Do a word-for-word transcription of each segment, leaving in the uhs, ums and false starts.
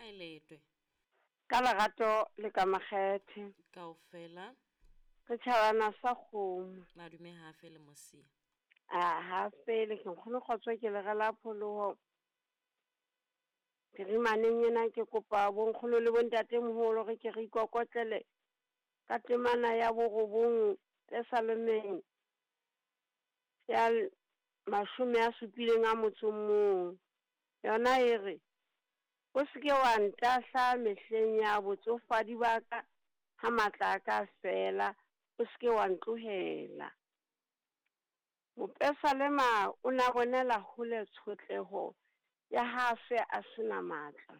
A e letwe. Ka lerato le ka makgethe. Kaofela. Re tjhabana sa kgomo. Madume ha fele mosia. A ha fele ke nkgono kgotso ke le rela pholoho. Phirimaneng ena ke kopa bonkgono le bontatemoholo re ke re ikokotlele ka temana ya borobong Pesalemeng ya mashome a supileng a motso o mong. Yona e re, o seke wa ntahla mehleng ya botsofadi ba ka, ha matla a ka fela, o seke wa ntlohela. Mopesalema o na bonela hole tshotleho ya ha se a sena matla.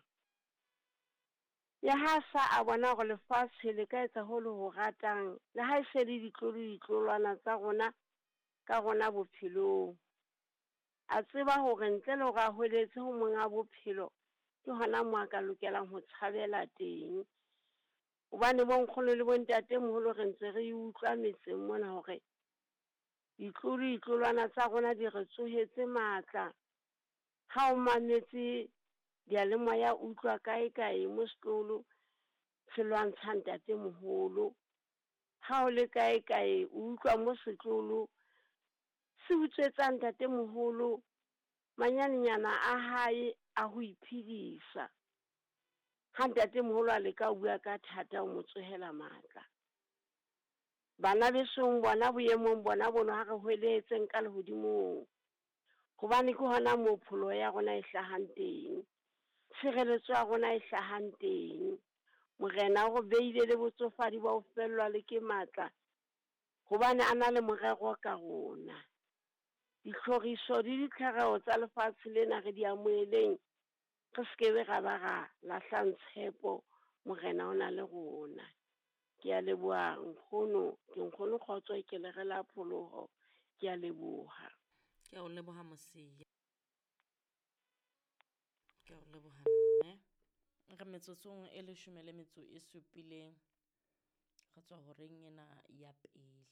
Ya ha sa a bona hore lefatshe le ka etsa ho le ho ratang, le ha e se le ditlolo ditlolwana tsa rona ka rona bophelong. A tseba hore ntle le hore a hweletse ho monga bophelo, ke hona moo a ka lokelang ho tshabela teng. Hobane bo nkgono le bontatemoholo re ntse re utlwa metseng mona hore ditlolo ditlolwana tsa rona di re tsohetse matla. Ha o mametse diyalemoya utlwa kae kae mo setlolo se lwantsha ntatemoholo. Ha o le kae kae o utlwa mo setlolo se utswetsa ntatemoholo manyanenyana a hae a ho iphedisa. Ha ntatemoholo a leka ho bua ka thata o mo tsohela matla. Bana besong bona boemong bona bono ha re hweletseng ka lehodimong. Hobane ke hona moo pholoho ya rona e hlahang teng. Tshireletso ya rona e hlahang teng. Morena o re beile le botsofadi ba ho fellwa le ke matla, hobane a na le morero ka rona. Ditlhoriso le ditlhareho tsa lefatshe lena re di amoheleng, re sekebe ra ba ra lahlang tshepo, Morena o na le rona. Ke a leboha nkgono, ke nkgono kgotso ke le rela pholoho. Ke a leboha. Ke a o leboha mosia. Ke a o leboha mme. Re metsotsong e leshome le metso e supileng. Re tswa horeng ena ya pele.